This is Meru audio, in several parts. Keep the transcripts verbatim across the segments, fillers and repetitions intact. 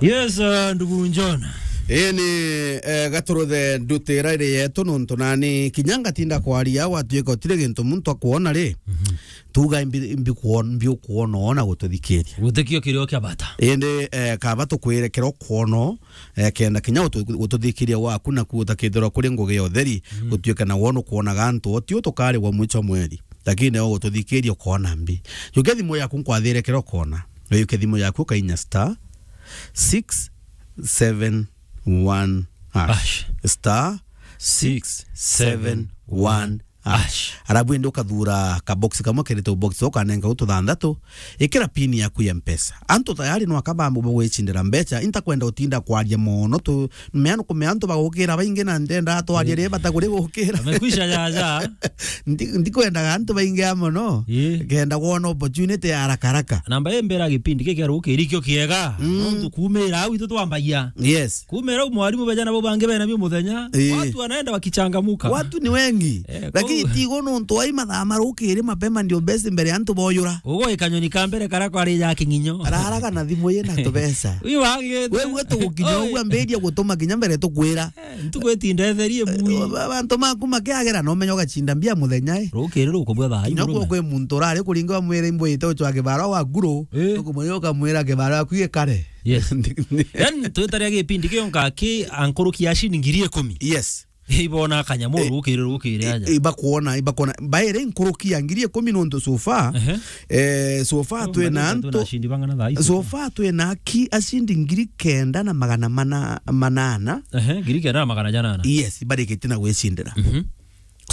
Yes, uh, ndugu John. Ii ni, eh, gaturuthe ndutira iri yetu nontu nani kinya ngatinda kwaria, gwatuika utiri gintu muntu akwona ri, tuga mbi-, mbi kwon-, mbi ukwona ona gututhikiria. Gutikio kirio kia bata. Indi, eh, kaba tukwire kiro kwona, eh, kenda kinya gutu-, gututhikiria gwaku naku utakithirwa kuri ngugi ya utheri, gutuika na wona ukwonaga antu o ti utukarigwa mwicho mweri. Lakini neo gututhikiria ukona mbi. Jukia thimu yaku nkwathire kiro kona. Ujukia thimu yaku ukainya star six seven one hash. Hash. Star six seven one hash. Arabu indi ukathura ka box kamwe kerite box ukanenga utu thanthatu. Ikira pin yaku ya Mpesa. Antu tayari no akabambo bagwicindira mbecha. Intakwenda utinda kwaria mono tu. Mea nukumea antu bagukira baingi na ndenda twaria ri bata kuri gukira. Amekwisha jaja. Ndi-, ndikwendaga antu baingi a mono. Ii. Kenda kwona opportunity ya haraka haraka. Namba ii mbere ya gipindi giki rukiri kio kiega. Mm. Nontu kumira au itu twambagia. Yes. Kumira au mwarimu beja nabo bangi bena bio muthenya. Ii. Watu wanaenda wakichangamuka. Watu ni wengi. Eh, lakini kou- tigo nontu ai mathaa ma rukiri mapema ndio best mbere antu boyura. Ugo ikanyoni ka mbere kara kwari ja king'inyo. Araraga na thimu yina tubesa. Wi wagite. Wewe tugukinya ugwa mberia gutuma kinya mbere tukwira. Eh, ntuku itinda etherie mui. Eh, ba-, bantu maku makiagera no menya ugacinda mbia muthenya, eh. Rukiri rukubwa thaa. Kinya imwe kwi muntu urari kuringa mwire imbo ite ucwa kibara wa guru. Eh. Ukumwira ukamwira kibara yaku ikare. Yes. Then twitaria gipindi kionka ki ankuruki ya shilingi ngiri ikumi. Yes. Ibona kanyamu rukiri rukiri aja. I-, ibakuona, ibakuona. Baire nkuruki ya ngiri ikumi nontu so far. Ehe. Eh, so far twina antu, ashindi bang'ana thaa ici. So far twina aki ashindi ngiri kenda na magana mana, manana. Ehe, ngiri kenda na magana janana. Yes, barikite na gwicindira. Mhm.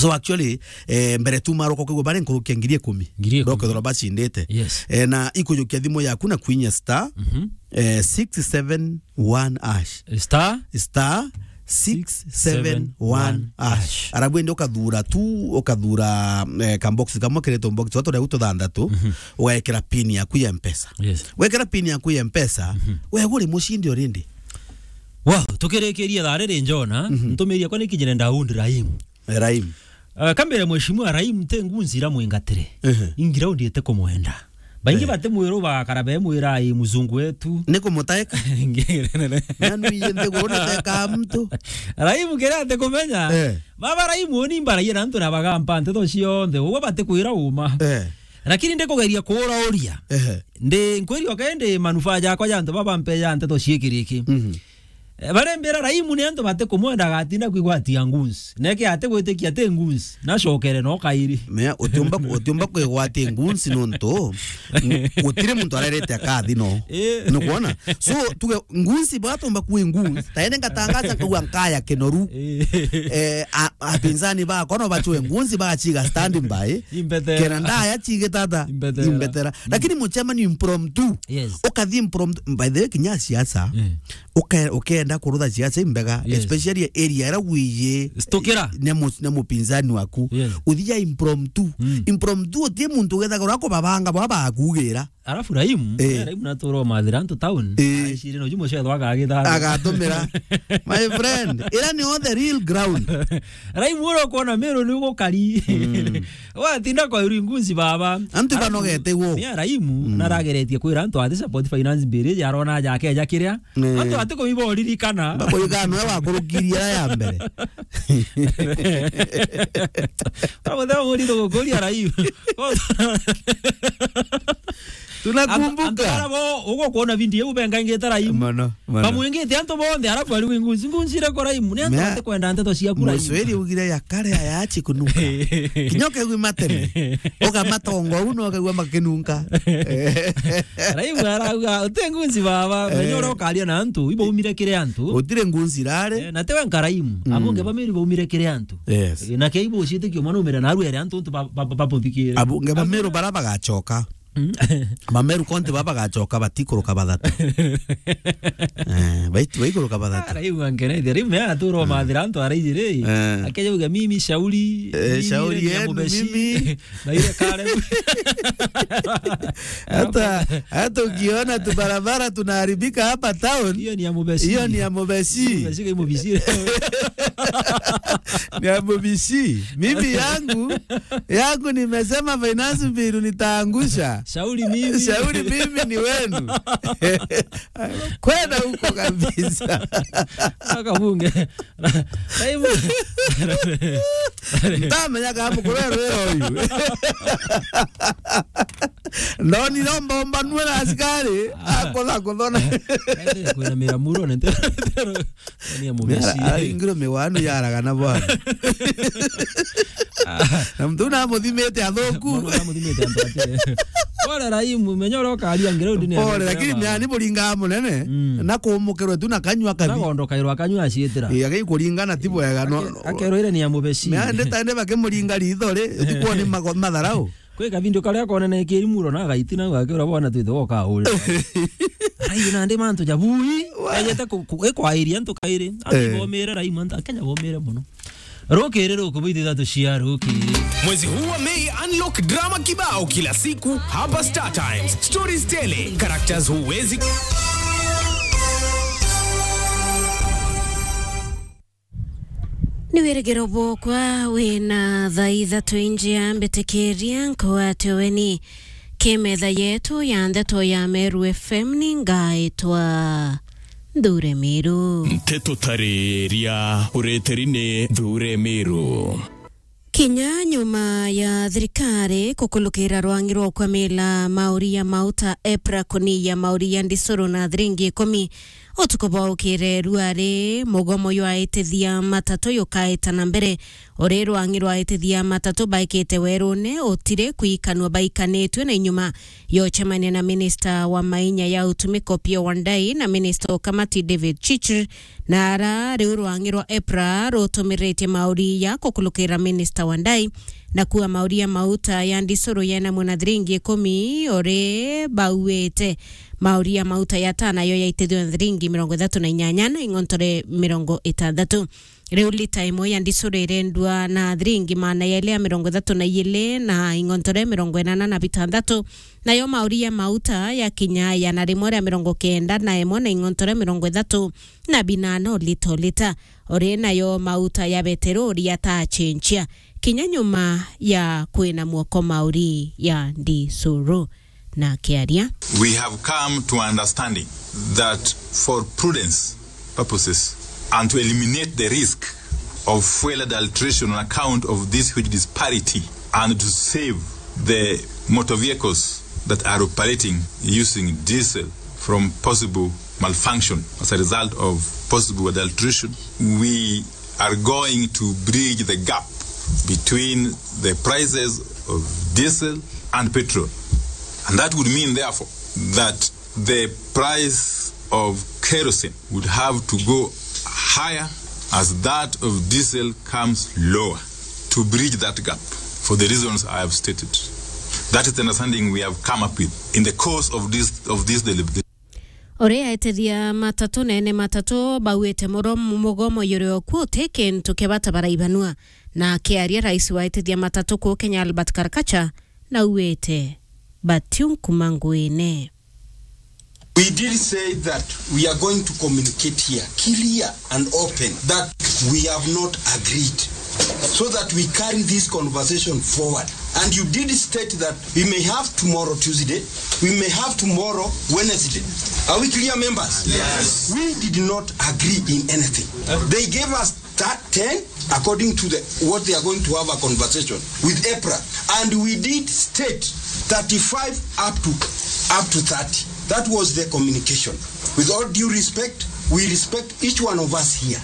So actually, eh, mbere tu maroka kwigua bare nkuruki ya ngiri ikumi. Ngiri ikumi. Ndokethirwa bacindite. Yes. Eh, na ikujukia thimu yaku na kwinya star, mhm, eh, six seven one hash. Star? Star six seven one hash. Arabu indi ukathura tu, ukathura, eh, ka box kamwe keretwo box, watu reu tuthanthatu, mhm, ugekira pin yaku ya Mpesa. Yes. Wekira pin yaku ya Mpesa, mhm, wewe uri mushindi already. Wow, tukirikiria thaa riri Jona, mhm, ntumiria kwa nikinyire ndaund Raim. Raim. Uh, kambere mheshimiwa Raim te ngunzi ira mwingatire. Ehe. Ingira undiete kumwenda. Baingi, eh, bati mwiru bagakara be mwira ai mzungu wetu. Ni kumutaeka. Nanu iye nthiguru niteka mtu. Raim kira ati kumenya. Eh. Baba Raim uni mbaragia na antu na bagampa nteto cionthe. Uwe bati kwira uma. Eh. Lakini ndikugeria kuurauria. Ehe. Ndi nkwiri oke ndi manufaa jakwa ja antu baba mpe ja nteto ciikiriki. Mhm. Eh, barembera Raimu ni antu batikumwenda agatinda kwigwatia ngunsi. Neke atigwitikia ati ngunsi. Nacokere no kairi. Mea, utiumba, utiumba kwigwatia ngunsi nontu, n-, gutiri muntu arerete akathi no. Eh. Nukwona? So, tuge ngunsi bwatumba kwi ngunsi. Taene ngatangaza nkauga nkaya kinoru. Eh. Eh, a-, apinzani bakwa no bachwe ngunsi bagachiga standby. Imbetera. Kena ndaya chigitata. Imbetera. Imbetera. Mm. Lakini muchema ni impromptu. Yes. Ukathi impromptu. By the way, kinya siasa. Mm. Uke-, ukenda kurutha siasa imbega, yes, especially area ira wiye. Stukira. Ne mu-, ne mupinzani waku. Yes. Uthia impromptu. Mm. Impromptu utie muntu ugethagirwa kubabanga bwa bakugira. Alafu Raimu, eh, Raimu natura umathira antu town. Eh. Aishire no jumo cetho agagitha. Agatumira. My friend, ira ni on the real ground. Raimu ura kuona Meru ni ugukari. Mm. Watinda kwa iri ngunzi baba. Antu banogete wo. Ni Raimu, mm, narageretie kwira antu ati support finance bill, yarona jake ja kiria. Eh. Antu ati kuiba uririkana. Bakuigana we wakurukirie ya mbere. Ora muthenya murito gukuria Raimu. Tunakumbuka. Antu, antu bara bo, ugo kuona video iu benga ingi ta Raimu. Mono, mono. Bamwingite antu bonthe, alafu ari wi ngunzi, ngunzi ira ko Raimu. Ni antu batikwenda nteto ciaku Raimu. Muswiri ugire ya kare ya yachi kunuka. Kinya ukegua mateme. Ukamatongo u no ukegua makinunka. Raimu arauga, uti ngunzi baba, eh, menya uria ukaria na antu, ibo umire kiri antu. Utire ngunzi rare. Eh, na tewe nka Raimu. Mm. Abonge bamiri baumire kiri antu. Yes. Eh, na kei bo ucitikio mwana umire na aruere antu untu ba, ba, ba, babuthikire. Abonge bamiri bara bagachoka. Mm. Mameru konti baba bagachoka batikuruka bathatu. Eh, bait-, baikuruka bathatu. Ah, Raimu angeneithia. Raimu ya atura, mm, mathira antu araiji ri. Eh. Akeja uga, "Mimi shauri, eh, mimi shauri ni ya yenu, Mubeshi." Mimi. Na ile kare. Hata, hata ukiona tu barabara tunaharibika hapa town, hiyo ni ya Mubeshi. Hiyo ni ya Mubeshi. Mubeshi kai Mubeshi. Ni ya Mubeshi. Mimi yangu, yangu nimesema finance bill nitaangusha. Shauri mimi. Shauri mimi ni wenu. Kwenda huko kabisa. Aka bunge. Raimu. Ntamenya kama kurero uyu. Ndoni no mbombanue na askari, akotha kuthona. Ende kwina mira muro ne ntero. Ni ya mubeci. Aringirwe miwanu yaragana bwana. Na mtu na muthimite athuku. Mwana na muthimite antu atire. Pole Raimu, menya uria ukaria ngire undi ni. Pole, lakini ni ani buringa munene. Mm. Na kumukirwe tu na kanyua kabi. Na gondo kairwa kanyua acitira. Iya, gai kuringana ti bwega, no. Ake-, akerwire ni ya mubeci. Na ndeta ende bakimuringa ritho ri, utukuwa ni mago-, matharau. Kwi kavindio karia konene kiri muro na gaiti na gakira bwana twithe woka uri. Arai nandi mantu jabui. Wa- Ejete ku-, ku-, ikwairia antu kairi. Ati Eh. Bomire Raimu antu Akenya bomire muno. Rukiri ruku bwithithatu cia rukiri. Mwezi huu wa Mei, unlock drama kibao kila siku hapa Star Times. Stories tele, characters huwezi. Ni wirigiro bwokwa wina thaa ithatu injia mbitikiria nkwate weni. Ki metha yetu ya ndeto ya Meru F M ni ngaitwa Nthure Miru. Nteto tariria ureteri ni Nthure Miru. Kinya nyuma ya thirikari kukulukira rwangi rwa kwamila mauri ya mauta EPRA kuniya mauri ya ndisuru na thiringi ikumi, utuku bwa ukire ruari mugomo jwa aitithia matatu jukaita na mbere. Uri rwangi rwa aitithia matatu baikite werune utiri kwikanua baikanitue na inyuma ya ucemania na minista wa mainya ya utumiko Opiyo Wandayi na minista wa ukamati David Chirchir, na ara riu rwangi rwa EPRA rutumiritie mauri ya kukulukira minista Wandayi na kuua mauri ya mauta ya ndisuru yena muna thiringi ikumi uri bauite mauri ya mauta ya tana yo yaitithua thiringi mirongo ithatu na inyanya na ing'ontore mirongo itandatu. Riu lita imwe ya ndisuru irendua na thiringi maana yaili ya mirongo ithatu na iili na ing'ontore mirongo inana na bitandatu, nayo mauri ya mauta ya kinya igana rimwe ria mirongo kenda na imwe na ing'ontore mirongo ithatu na binana o lita o lita. Uri nayo mauta ya beterori yatacenjia kinya nyuma ya kwina mwoko mauri ya ndisuru. Na akiaria. We have come to understanding that for prudence purposes and to eliminate the risk of fuel adulteration on account of this huge disparity and to save the motor vehicles that are operating using diesel from possible malfunction as a result of possible adulteration, we are going to bridge the gap between the prices of diesel and petrol. And that would mean, therefore, that the price of kerosene would have to go higher as that of diesel comes lower to bridge that gap for the reasons I have stated. That is the understanding we have come up with in the course of this, of this deliberation. Uri aitithia matatu na ene matatu bauite muro-, mugomo yuri o kuu uti kintu kia bata baraibanua. Na akiaria, rais wa aitithia matatu kuu Kenya Albert Karakacha nauite batiu nkuma nguine. We did say that we are going to communicate here clear and open that we have not agreed, so that we carry this conversation forward. And you did state that we may have tomorrow, Tuesday, we may have tomorrow, Wednesday. Are we clear, members? Yes. We did not agree in anything. They gave us that ten, according to the, what they are going to have a conversation with EPRA. And we did state thirty-five up to, up to thirty. That was the communication. With all due respect, we respect each one of us here.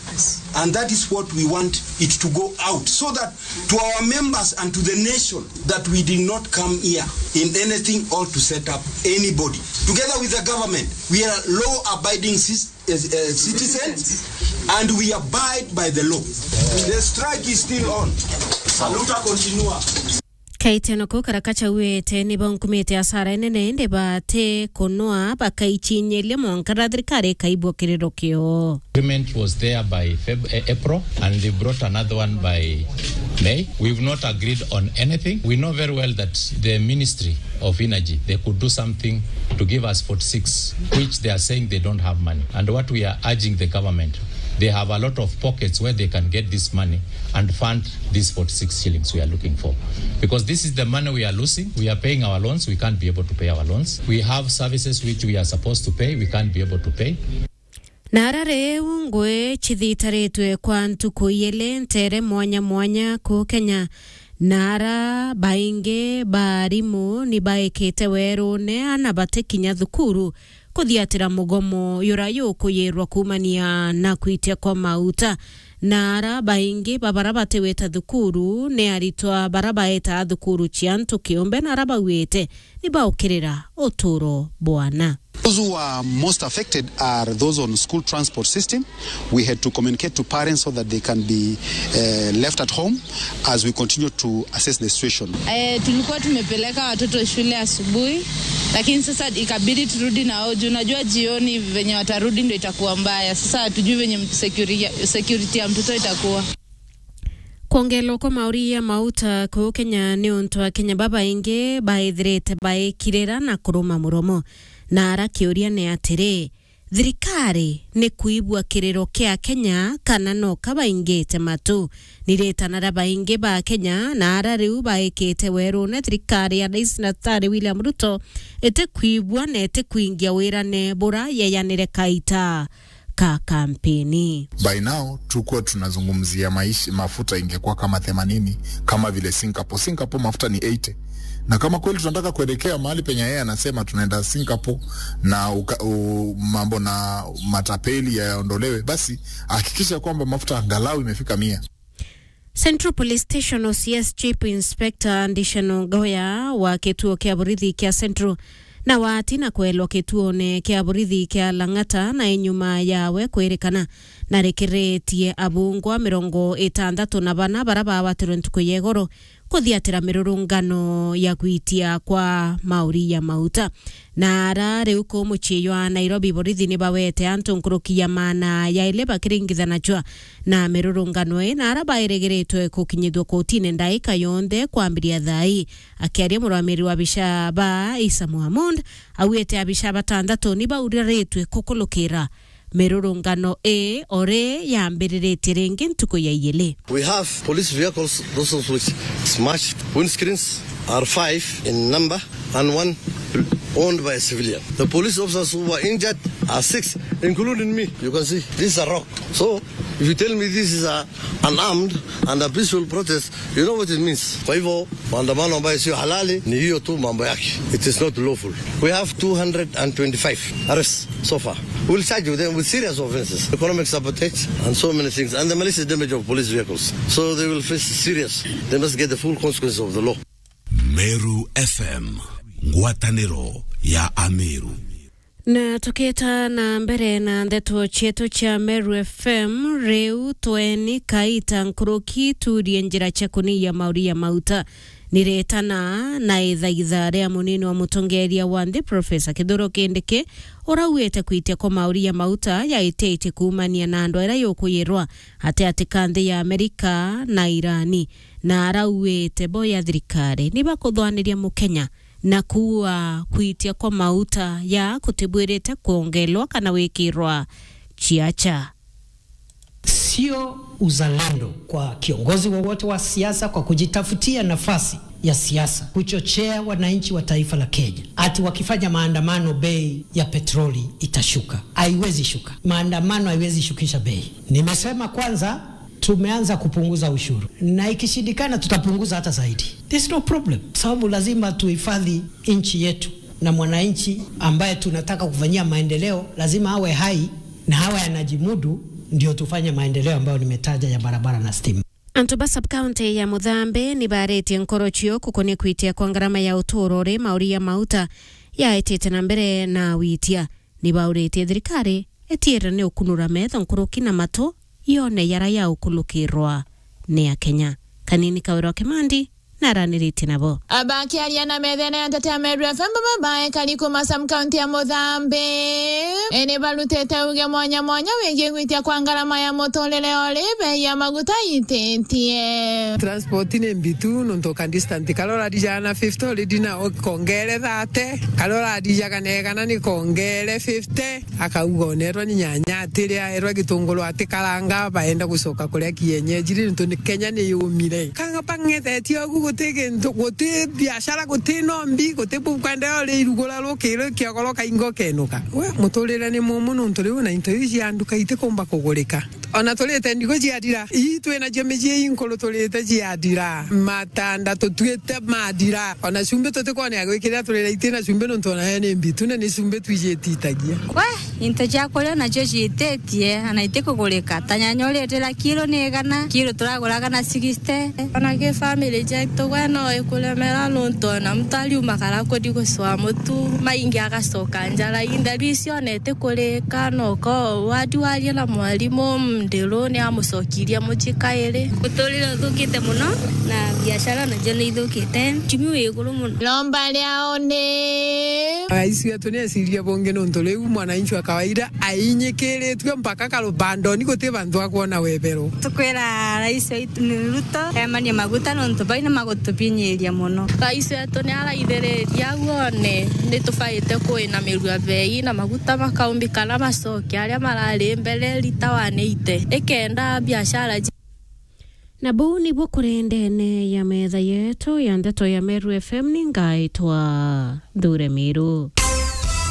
And that is what we want it to go out, so that to our members and to the nation, that we did not come here in anything or to set up anybody. Together with the government, we are law-abiding cis-, uh, uh, citizens, and we abide by the law. The strike is still on. Haluta continue. Kaiteno kau Karakacha auite ni baunkumite asara inene, indi bati kunwa bakaicinyiria mwanka na thirikari ikaibua kiriro kio. Agreement was there by Feb-, eh, April, and they brought another one by May. We've not agreed on anything. We know very well that the Ministry of Energy, they could do something to give us forty-six, which they are saying they don't have money. And what we are urging the government, They have a lot of pockets where they can get this money and fund these forty-six shillings we are looking for. Because this is the money we are losing. We are paying our loans. We can't be able to pay our loans. We have services which we are supposed to pay. We can't be able to pay. Na ara riu ngui cithitaritwe kwa ntuku iili ntere mwanya mwanya ku Kenya, na ara baingi ba arimu ni baikite werune ana batikinya thukuru kuthiatira mugomo yura yukuyirwa kuumania na kwitia kwa mauta. Na ara baingi ba bara batiwita thukuru ni aritwa bara baetaa thukuru cia antu kiumbe, na ara bauite ni baukirira uturo bwana. Those who are most affected are those on school transport system. We had to communicate to parents so that they can be, eh, left at home as we continue to assess the situation. Eh, tulikuwa tumepeleka watoto shule asubuhi, lakini sasa ikabidi turudi na wao juu unajua jioni venye watarudi ndio itakuwa mbaya. Sasa hatujui venye security, security ya mtoto itakuwa. Kwongerwa kwa mauri ya mauta kuu Kenya ni untu Akenya babaingi baithirite baikirira na kuruma muromo. Na ara kiuria ni atiri, thirikari ni kuigua kiriro kia Kenya kana no kabaingite matu? Ni ritana ria baingi ba Kenya na ara riu baikite werune thirikari ya Rais Daktari William Ruto itikwigua na itikwingia wirane bura yeyanire kaita ka kampeni. By now, tukuwa tunazungumzia maisha, mafuta ingekuwa kama themanini, kama vile Singapore. Singapore mafuta ni eighty. Na kama kweli tunataka kuelekea mahali penye yeye anasema tunaenda Singapore na uka, u, mambo na matapeli yaondolewe, basi hakikisha kwamba mafuta angalau imefika mia. Central Police Station O C S Chief Inspector Ndishano Goya wa kituo kia borithi kia Central na watina kwelwa kituone kia borithi kia Lang'ata na inyuma yawe kwirikana na rikiritie abungwa mirongo itandatu na bana bara bawatirwe ntuku ya igoro kuthiatira mirurungano ya gwitia kwa mauri ya mauta. Na ara riu ku mucii jwa Nairobi, borithi ni bawete antu nkuruki ya maana ya ili bakiringithanachwa na mirurungano ii, na ara bairigiritwe kukinyithua kotine ndaika yonthe kwambiria thaa ii. Akiaria murwamiri wa abisha ba Isa Mohamud, augite abisha batandatu ni bauriritwe kukulukira mirurungano ii ori yambiriritie ringi ntuku ya iili. We have police vehicles, those of which smashed. Windscreens are five in number and one owned by a civilian. The police officers who were injured are six, including me. You can see, this is a rock. So, if you tell me this is a, an armed and a peaceful protest, you know what it means. Kwa hivyo, maandamano ambayo sio halali ni hiyo tu mambo yake. It is not lawful. We have two hundred and twenty-five arrests so far. We'll charge them with serious offenses, economic sabotage, and so many things, and the malicious damage of police vehicles. So they will face serious. They must get the full consequences of the law. Meru F M, ngwataniro ya Ameru. Na tukieta na mbere na ndeto cietu cia Meru F M, riu tweni kaita nkuruki turie njira cia kuniia mauri ya mauta. Niretana na ithaitha ria munini wa mutongeria wa nthi, Profesa Kithure Kindiki, urauite kwitia kwa mauri ya mauta yaititie kuumania na andu aria yukuyirwa ati ati ka nthi ya Amerika na Irani, na arauite bo ya thirikari ni bakuthwaniria Mukenya na kuua kwitia kwa mauta ya kutibwirite kwongelwa kana wikirwa ciacha. Sio uzalendo kwa kiongozi wowote wa siasa kwa kujitafutia nafasi ya siasa kuchochea wananchi wa taifa la Kenya ati wakifanya maandamano bei ya petroli itashuka. Haiwezi shuka. Maandamano haiwezi shukisha bei. Nimesema kwanza tumeanza kupunguza ushuru, na ikishindikana tutapunguza hata zaidi. There's no problem, sababu lazima tuhifadhi nchi yetu na mwananchi ambaye tunataka kufanyia maendeleo lazima awe hai na awe anajimudu, ndio tufanye maendeleo ambayo nimetaja ya barabara na stima. Antu ba sub-county ya Muthambi ni baritie nkoro cio kukonia kwitia kwa ngarama ya uturo uri mauri ya mauta yaetite na mbere na witia. Ni bauritie thirikari itiire ni ukunura metho nkuruki na matu yone yara ya ukulukirwa ni Akenya. Kanini Kawira wa Kimandi, na araniritie nabo. Abakiaria na methene ya nteto ya Meru F M, baba baekari kuma sub county ya Muthambi, ene barutite uge mwanya mwanya wigie gwitia kwa ngarama ya muturire ori bei ya maguta ititie. Transport ni mbitu, nontu ka distance, karia urarijaga na fifty already na ukongere thirty, karia urarijaga na igana ni kongere fifty. Akauga onerwa ni nyanya atiria, erwa gitunguru atikaranga, baenda gucoka kuria kienyeji ri, nontu ni Kenya ni yumire. Kanga bang'ethetie ugu, guti gintu, guti biashara, guti nombi, guti bukwenderea uri irugura rukiri kiogoro kaingo kenuka. We, muturire ni mumu nontu riu na into iu cia nduka itikumba kugurika. Ona turite ndigu ciathira, ii twinacio micii inkuru turite ciathira, matanda tutuite mathira, ona cumbi tutikwonea gwikirira turire itina cumbi nontu onayo ni mbitu na ni cumbi twijititagia. We, into cia kuria nacio ciititie, ana itikugurika. Ta nyanya uritira kiro ni igana, kiro turaguraga na sixty. Ona ki family jetu gwe no ikuremera nontu ona muntu ariuma kara kuthi gucwa mutu, maingi agacoka njara intheru icio ona itikurika, no ko wadi waria na mwarimu, ndiru ni amucokirie mucii kairi. Muturire uthukite muno na biashara nacio ni ithukite. Uchumi wi iguru muno. Lomba riao ni. Rais wetu ni eciria bungi nontu riu mwananchi wa kawaida ainyikiritue mpaka karubandoni, guti bantu akwona webero. Tukwira rais waitu ni Ruto emanie maguta nontu baina magutubinyiria muno. Rais wetu ni araithiriria au one ni tubaite kuinamirua bei na maguta makaumbikana macoke aria marari mbere lita one eighty, ikenda biashara ji- Na buu nibuo kuri ndene ya metha yetu ya ndeto ya Meru F M, ni ngaitwa Thure Miru.